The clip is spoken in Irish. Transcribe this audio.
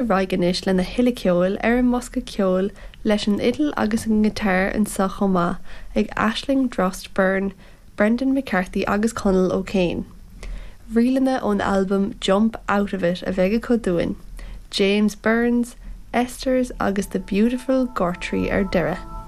Ar aghaidh anois lena thuilleadh ceoil ar an mbosca ceoil leis an fhidil agus an giotár anseo chomh maith ag Aisling Drost Byrne, Brendan McCarthy agus Conall O'Kane. Ríleanna ón albam Jump Out of It a bheidh acu dúinn, James Burns, Esther's agus The Beautiful Gortree ar deireadh.